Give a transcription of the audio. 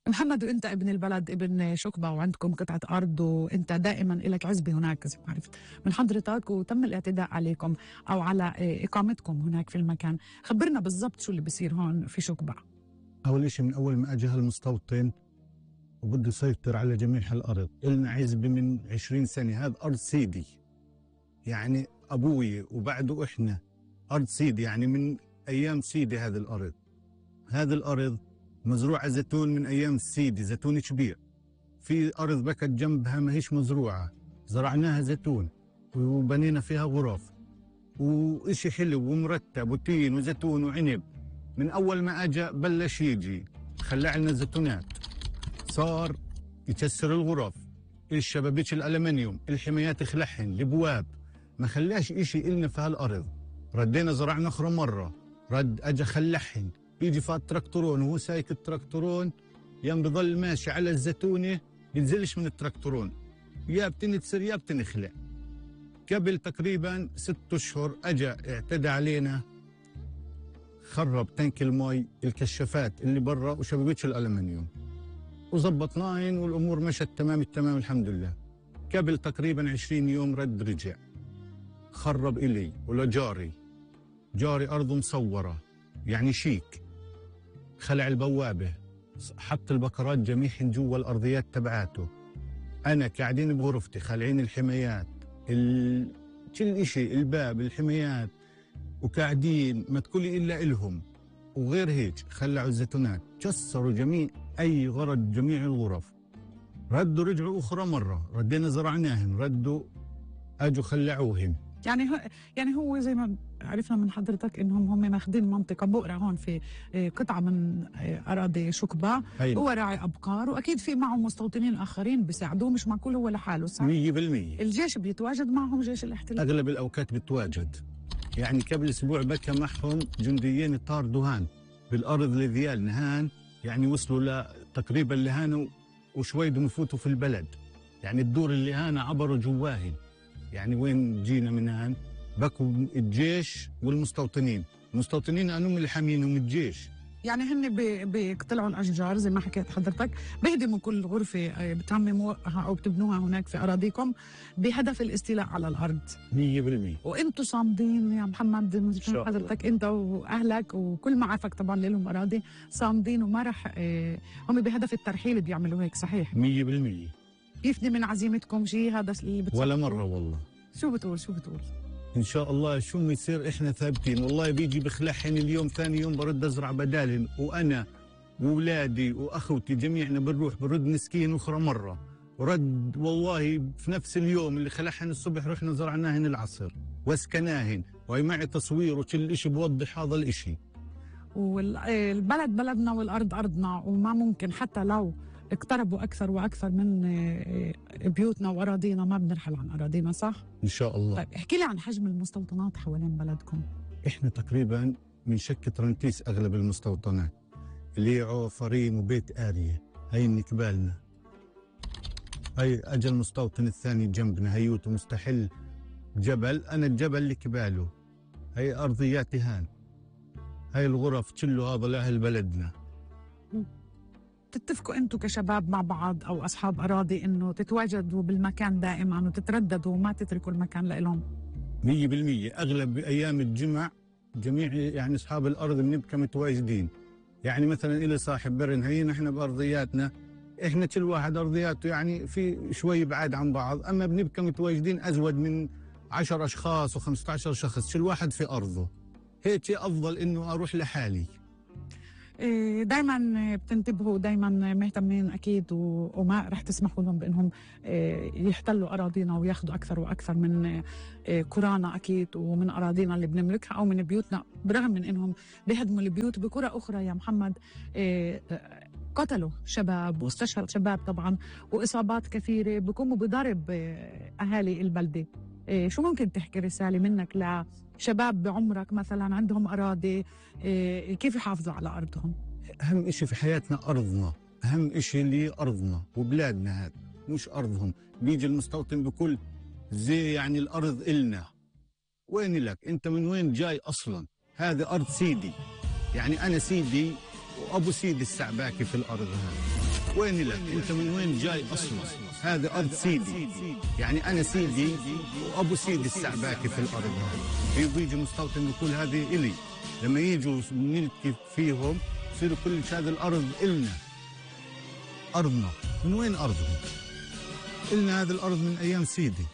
محمد، وانت ابن البلد، ابن شكبة، وعندكم قطعة أرض، وانت دائما لك عزبة هناك زي ما عرفت من حضرتك، وتم الاعتداء عليكم أو على إقامتكم هناك في المكان. خبرنا بالضبط شو اللي بيصير هون في شكبة. أول إشي من أول ما أجى هالمستوطن وبده يسيطر على جميع هالأرض، إلنا عزبة من 20 سنة، هذا أرض سيدي، يعني أبوي وبعده إحنا أرض سيدي، يعني من أيام سيدي. هذه الأرض مزروعة زيتون من أيام السيدي، زيتون كبير. في أرض بكت جنبها ما هيش مزروعة، زرعناها زيتون وبنينا فيها غرف وإشي حلو ومرتب وتين وزيتون وعنب. من أول ما أجا بلش يجي خلع لنا الزيتونات، صار يكسر الغرف، الشبابيك الألمنيوم، الحمايات خلعهن، البواب، ما خلاش إشي إلنا في هالأرض. ردينا زرعنا أخرى مرة، رد أجا خلعهن، بيجي فات تراكتورون وهو سايك التراكتورون يام بضل ماشي على الزيتونة، ينزلش من التراكتورون، يا بتنكسر يا بتنخلع. قبل تقريبا 6 أشهر أجا اعتدى علينا، خرب تانك المي، الكشافات اللي برا وشبابيك الألمنيوم، وزبطناهن والأمور مشت تمام التمام الحمد لله. قبل تقريبا 20 يوم رد رجع خرب إلي ولجاري، جاري أرضه مصورة يعني شيك، خلع البوابة، حط البكرات جميعهن جوا الأرضيات تبعاته. أنا قاعدين بغرفتي خالعين الحمايات، كل إشي، الباب، الحمايات، وقاعدين ما تقولي إلا إلهم. وغير هيك خلعوا الزيتونات، كسروا جميع أي غرض، جميع الغرف. ردوا رجعوا أخرى مرة، ردينا زرعناهن، ردوا أجوا خلعوهن. يعني هو زي ما عرفنا من حضرتك انهم هم ماخذين منطقه بؤره هون في قطعه من اراضي شكبة. هو راعي ابقار، واكيد في معه مستوطنين اخرين بيساعدوه، مش معقول هو لحاله، صح؟ 100%. الجيش بيتواجد معهم، جيش الاحتلال اغلب الاوقات بيتواجد. يعني قبل اسبوع بكى معهم جنديين طار دهان بالارض لذيال نهان، يعني وصلوا تقريبا لهان وشوي بدهم يفوتوا في البلد، يعني الدور اللي هان عبروا جواهن. يعني وين جينا من هان بكوا الجيش والمستوطنين، المستوطنين انهم اللي حامينهم الجيش. يعني هن بيقتلعوا الاشجار زي ما حكيت حضرتك، بيهدموا كل غرفه بتعمموها او بتبنوها هناك في اراضيكم بهدف الاستيلاء على الارض 100%. وانتم صامدين يا محمد، حضرتك انت واهلك وكل معارفك طبعا لهم اراضي، صامدين وما راح هم بهدف الترحيل بيعملوا هيك، صحيح؟ 100%. يفني من عزيمتكم شيء هذا اللي بتصير؟ ولا مره والله. شو بتقول ان شاء الله شو ما يصير احنا ثابتين. والله بيجي بخلعهن اليوم، ثاني يوم برد ازرع بدالهن، وانا واولادي واخوتي جميعنا برد نسكين اخرى مره، ورد والله في نفس اليوم اللي خلعهن الصبح رحنا زرعناهن العصر واسكناهن، وهي معي تصوير وكل شيء بوضح هذا الاشي. والبلد بلدنا والارض ارضنا، وما ممكن حتى لو اقتربوا اكثر واكثر من بيوتنا واراضينا ما بنرحل عن اراضينا، صح؟ ان شاء الله. طيب احكي لي عن حجم المستوطنات حوالين بلدكم. احنا تقريبا من شكة رنتيس اغلب المستوطنات اللي هي عوفرين وبيت آرية، هي النكبالنا. هي اجى المستوطن الثاني جنبنا هيوت مستحل جبل، انا الجبل اللي كباله، هي ارضياتي هان، هي الغرف كله هذا لاهل بلدنا. تتفقوا انتم كشباب مع بعض او اصحاب اراضي انه تتواجدوا بالمكان دائما وتترددوا وما تتركوا المكان لهم؟ 100%. اغلب ايام الجمع جميع يعني اصحاب الارض بنبقى متواجدين. يعني مثلا الى صاحب برن، هي نحن بارضياتنا، احنا كل واحد ارضياته يعني في شوي بعاد عن بعض، اما بنبقى متواجدين ازود من 10 اشخاص و15 شخص كل واحد في ارضه. هيك افضل انه اروح لحالي. دايما بتنتبهوا، دايما مهتمين اكيد، وما رح تسمحوا لهم بانهم يحتلوا اراضينا وياخذوا اكثر واكثر من قرانا اكيد، ومن اراضينا اللي بنملكها او من بيوتنا، برغم من انهم بيهدموا البيوت. بقرى اخرى يا محمد قتلوا شباب واستشهد شباب طبعا، واصابات كثيره، بيقوموا بضرب اهالي البلده. شو ممكن تحكي رسالة منك لشباب بعمرك مثلا عندهم أراضي، كيف يحافظوا على أرضهم؟ أهم إشي في حياتنا أرضنا، أهم إشي اللي أرضنا وبلادنا، هذا مش أرضهم. بيجي المستوطن بكل زي يعني الأرض إلنا، وين لك أنت؟ من وين جاي أصلا؟ هذه أرض سيدي، يعني أنا سيدي وأبو سيدي السعباكي في الأرض هذه. وين لك؟ انت من وين جاي اصلا؟ هذا ارض سيدي، يعني انا سيدي وابو سيدي السعباكي في الارض هذه. بيجي مستوطن يقول هذه الي، لما يجوا نلتقي فيهم يصيروا كل هذه الارض النا. ارضنا من وين ارضهم؟ النا هذه الارض من ايام سيدي.